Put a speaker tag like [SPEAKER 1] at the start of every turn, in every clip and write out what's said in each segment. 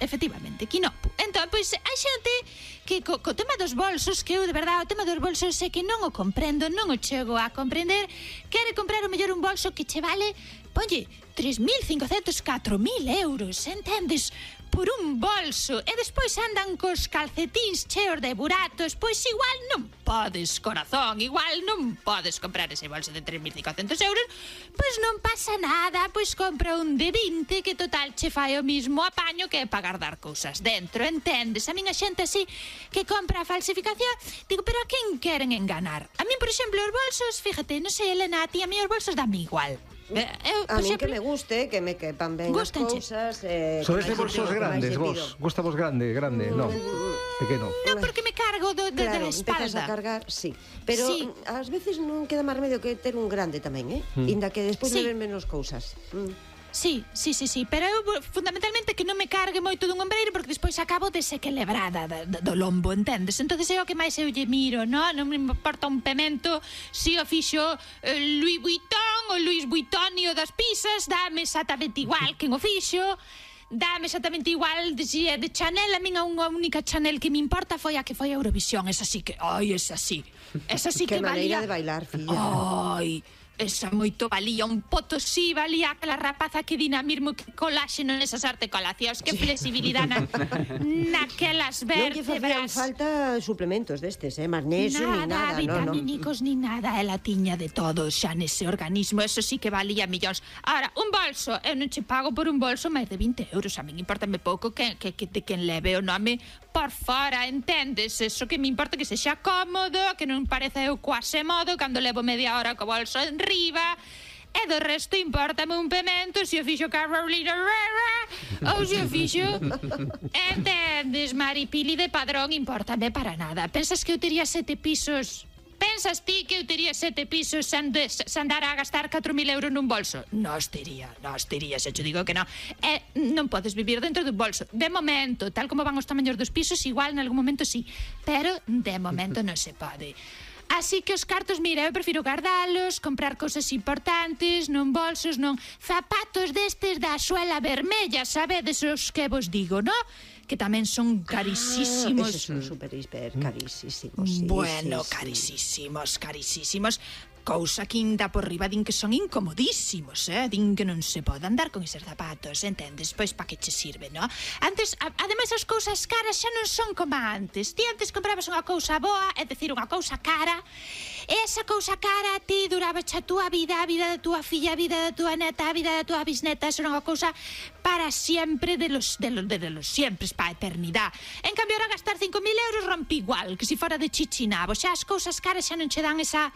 [SPEAKER 1] efectivamente, quinopo. Entón, pois, hai xente que co tema dos bolsos, que eu, de verdade, o tema dos bolsos é que non o comprendo, non o chego a comprender. Quere comprar o mellor un bolso que che vale, ponlle, 3.500, 4.000 euros, entendes? Por un bolso, e despois andan cos calcetíns cheos de buratos. Pois igual non podes, corazón, igual non podes comprar ese bolso de 3.500 euros. Pois non pasa nada, pois compra un de 20, que total che fai o mismo apaño que para guardar cousas dentro, entendes? A min a xente así que compra a falsificación, digo, pero a quen queren enganar? A min, por exemplo, os bolsos, fíjate, non sei, Elena, a ti, a mí os bolsos dame igual.
[SPEAKER 2] A min que me guste, que me quepan ben as cousas.
[SPEAKER 3] Sois de bolsos grandes, vos? Gusta vos grande? No, pequeno.
[SPEAKER 1] Non, porque me cargo da espalda.
[SPEAKER 2] Empezas a cargar, sí. Pero ás veces non queda máis remedio que ter un grande tamén, inda que despois me ven menos cousas.
[SPEAKER 1] Sí, pero eu fundamentalmente que non me cargue moito dun ombreiro, porque despois acabo desequilibrada do lombo, entendes? Entonces é o que máis eu lle miro, non me importa un pemento si o fixo Louis Vuitton ou Louis Vuittonio das pizzas, dame exactamente igual quen o fixo, dame exactamente igual de Chanel. A min a unha única Chanel que me importa foi a que foi a Eurovisión, esa sí que, esa sí que valía.
[SPEAKER 2] Que maneira de bailar, filla.
[SPEAKER 1] Esa moito valía, un potosí valía aquela rapaza que dinamismo, que coláxeno nesas articulacións, que flexibilidad naquelas vértebras.
[SPEAKER 2] Non lle facían falta suplementos destes, magnesio, ni nada,
[SPEAKER 1] vitamínicos, ni nada, ela tiña de todo xa nese organismo, eso sí que valía millóns. Ahora, un bolso, eu non che pago por un bolso máis de 20 euros, a min importame pouco que quen leve o nome por fora, entendes? Eso que me importa que sexa cómodo, que non parece eu quase modo cando levo media hora co bolso enriba, e do resto importame un pemento se o fixo Carolina Herrera ou se o fixo, entendes, Maripili de Padrón, importame para nada. Pensas que eu tería 7 pisos? Pensas ti que eu tería 7 pisos sen andar a gastar 4.000 euros nun bolso? Nos tería, se te digo que non. Non podes vivir dentro dun bolso. De momento, tal como van os tamaños dos pisos, igual en algún momento sí, pero de momento non se pode. Así que os cartos, mira, eu prefiro guardalos, comprar cousas importantes, non bolsos, non zapatos destes da suela vermella, sabedes os que vos digo, non? Que tamén son carísimos.
[SPEAKER 2] Esos son super carísimos.
[SPEAKER 1] Bueno, carísimos. Cousa que inda por riba din que son incomodísimos, din que non se pode andar con eses zapatos, entendes? Pois pa que che sirve, non? Antes, ademais as cousas caras xa non son como antes. Ti antes comprabas unha cousa boa, é dicir, unha cousa cara, e esa cousa cara a ti duraba xa a túa vida, a vida da túa filla, a vida da túa neta, a vida da túa bisneta, era unha cousa para sempre, de los siempre, para a eternidade. En cambio, ahora gastar 5.000 euros rompe igual, que se fora de chichinabo. Xa as cousas caras xa non che dan esa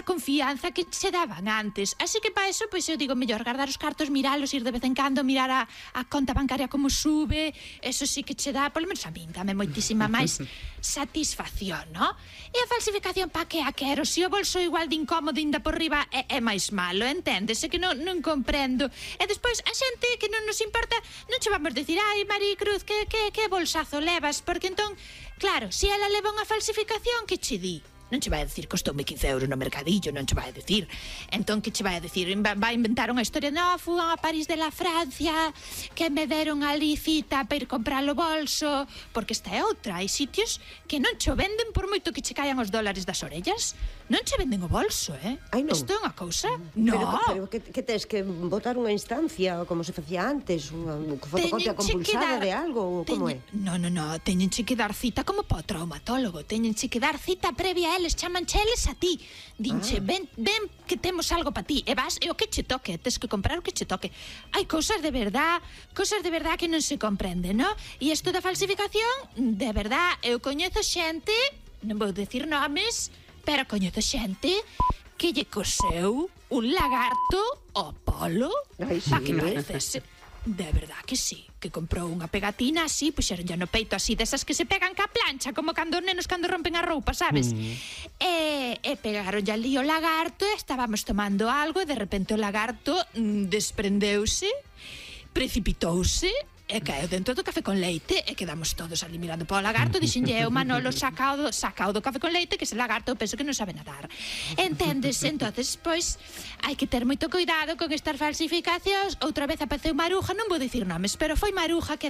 [SPEAKER 1] confianza que se daban antes. Así que para eso, pois eu digo, mellor guardar os cartos, miralos, ir de vez en cando, mirar a conta bancaria como sube, eso sí que che dá, polo menos a min, dame moitísima máis satisfacción, non? E a falsificación, pa que a quero? Se o bolso igual de incómodo inda por riba é máis malo, entendes? É que non comprendo. E despois, a xente que non nos importa, non che vamos decir, ai, Maricruz, que bolsazo levas? Porque entón, claro, se ela leva unha falsificación, que che di? Non che vai a decir costoume 15 euros no mercadillo, non che vai a decir. Entón, que che vai a decir? Vai inventar unha historia, non, fui a París de la Francia, que me deron ali cita para ir comprar o bolso, porque esta é outra, hai sitios que non che venden por moito que che caian os dólares das orellas, non che venden o bolso,
[SPEAKER 2] Ai, non.
[SPEAKER 1] Isto é unha cousa? Non.
[SPEAKER 2] Pero que tes que botar unha instancia, como se facía antes, unha fotocopia compulsada de algo, como é?
[SPEAKER 1] Non, teñenche que dar cita como para o traumatólogo, teñenche que dar cita previa a eles, chamancheles a ti, dinche, ven que temos algo para ti, e vas, e o que che toque, tes que comprar o que che toque. Hai cousas de verdad que non se comprende, non? E isto da falsificación, de verdad, eu coñezo xente, non vou decir nomes, pero coñezo xente que lle coseu un lagarto ao polo, pa que parecese. De verdad que sí, que comprou unha pegatina así, puxeron ya no peito así, desas que se pegan ca plancha, como cando os nenos cando rompen a roupa, sabes? E pegaron ya ali o lagarto, estábamos tomando algo e de repente o lagarto desprendeuse, precipitouse e caeu dentro do café con leite e quedamos todos ali mirando para o lagarto. Dixenlle eu, Manolo, sacao do café con leite, que ese lagarto eu penso que non sabe nadar, entendes? Entonces, pois, hai que ter moito cuidado con estas falsificacións. Outra vez apareceu Maruja, non vou dicir nomes, pero foi Maruja que